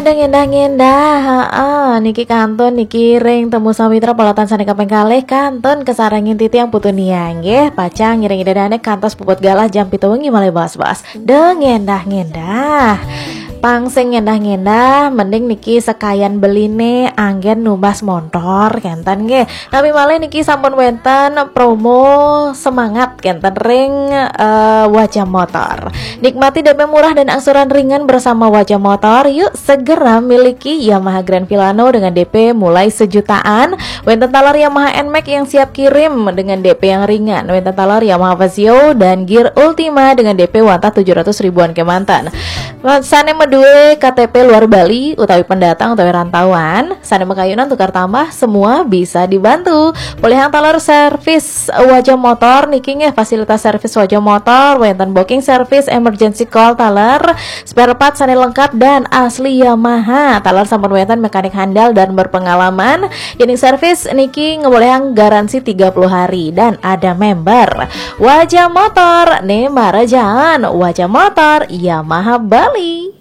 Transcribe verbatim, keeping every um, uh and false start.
Ngendah-ngendah, heeh, niki kantun niki ring Temu Samitra polatan sane kaping kalih kantun kasarengin titiang Putu Nia nggih, pacang ngiring Ida Dane kantos puput galah jam pitu wengi malih bos-bos. Ngendah-ngendah. Pang sing ngendah-ngendah, mending niki sekayan beline anggen numbas montor kenten nggih. Tapi malih niki sampun wenten promo semangat kenten ring eh, Wajah Motor. Nikmati D P murah dan angsuran ringan bersama Wajah Motor. Yuk segera miliki Yamaha Grand Filano dengan D P mulai sejutaan. Wenten taler Yamaha Nmax yang siap kirim dengan D P yang ringan. Wenten taler Yamaha Fazzio dan Gear Ultima dengan D P wantah tujuh ratus ribuan kemanten. Sane madue K T P luar Bali utawi pendatang utawi rantauan, sane makayunan tukar tambah, semua bisa dibantu. Polihang taler servis Wajah Motor niki nggih, fasilitas servis Wajah Motor, wenten booking service, emergency call taler, spare part sane lengkap dan asli Yamaha. Taler sampun wenten mekanik handal dan berpengalaman. Yening servis niki ngolihang garansi tiga puluh hari dan ada member. Wajah Motor ne marajaan, Wajah Motor Yamaha Bali.